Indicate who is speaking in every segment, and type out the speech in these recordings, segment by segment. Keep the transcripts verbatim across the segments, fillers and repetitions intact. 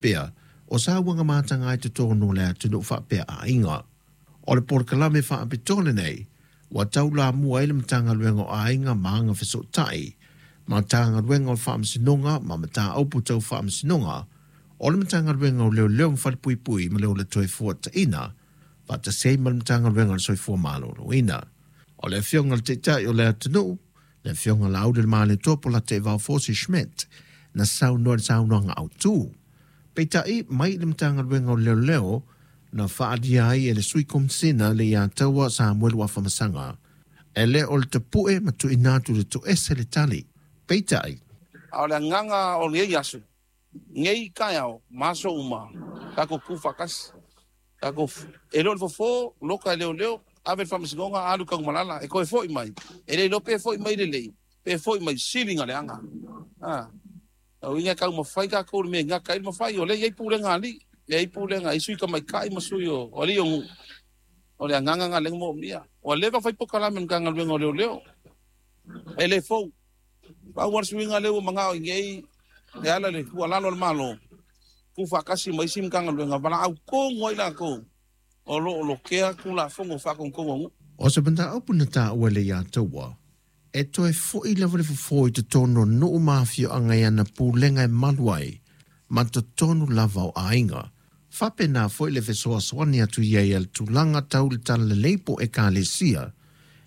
Speaker 1: Pea o sauaga mataga i totonu o le atunuu faapea aiga. O le polokalame faapitoa lenei ua taulamua ai le Matagaluega o Aiga ma Agafesootai, Matagaluega o le Faamasinoga ma Mataupu Tau Faamasinoga, o le Matagaluega o Leoleo ma Falepuipui ma le Ola Toefuataina, faatasi ai ma le Matagaluega o le Soifua Maloloina. O le Afioga i le Taitai o le atunuu, le Afioga Laaulialemalietoa Polataivao Fosi Schmidt, na saunoa i le saunoaga autu. Peitai mai le Matagaluega o Leoleo na faaalia ai e le Sui Komesina le Leiataua Samuelu Afamasaga, e le o le tapue ma tuuina atu i le toese le tali. Peitai,
Speaker 2: A o le agaga o lenei aso, nei taeao ma aso uma, tatou tu faatasi. Tatou e le o le fofo, loka e leoleo, ave le faamasinoga, alu i Tanumalala, e toe foi mai. E le iloa pe foi mai lelei, pe foi mai sili na leaga. Ah. O uiga e taumafai tatou i le mea e gata ai le mafai, o lea e i ai pulega a alii, e i ai pulega i sui tamaitai ma sui o alii o nuu. O le agaga lena lea na moomia. Ua leva ona fai polokalame a le Matagaluega o Leoleo, e le fou. Pau lava le suiga lea ua manao i nei e ala i le tuualalo a le Malo, tuufaatasi ma isi Matagaluega, valaau tonu ai latou o lo o lotea Tulafono faatonutonu a nuu.
Speaker 1: O se mataupu na taua e Leiataua, e toe foi lava le fofo i totonu o nuu ma afioaga i ana pulega e malu ai ma totonu lava o aiga. Faapena foi le fesoasoani atu i ai a le tulaga tau le talalelei po o ekalesia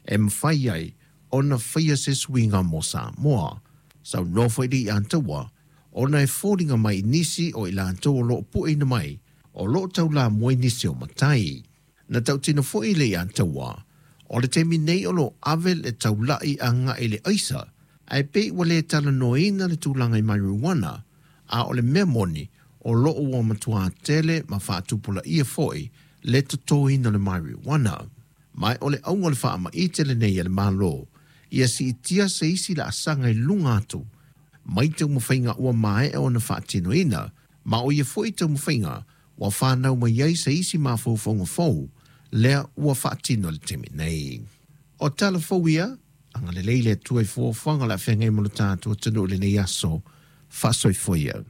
Speaker 1: e mafai ai ona faia se suiga mo Samoa. Saunoa foi Leiataua ona e foliga mai i nisi o i latou o lo o pueina mai o lo o taulamua i nisi o matai. Na tautino foi Leiataua o le taimi nei o lo o ave le taulai agai i le aisa, ae pei ua le talanoaina le tulaga i marijuana, a o le mea moni o lo o ua matua tele ma faatupulaia foi le totoina o le marijuana. Ma o le auga o le faamaite lenei a le Malo ia siitia se isi laasaga i luga atu mai taumafaiga ua maea ona faatinoina, ma o ia foi taumafaiga ua fanau mai ai se isi mafaufauga fou lea ua faatino i le taimi nei. O tala fou ia, agalelei le Atua i fuafuaga o le a feagai ma lo tatou atunuu i lenei aso. Faasoifua ia.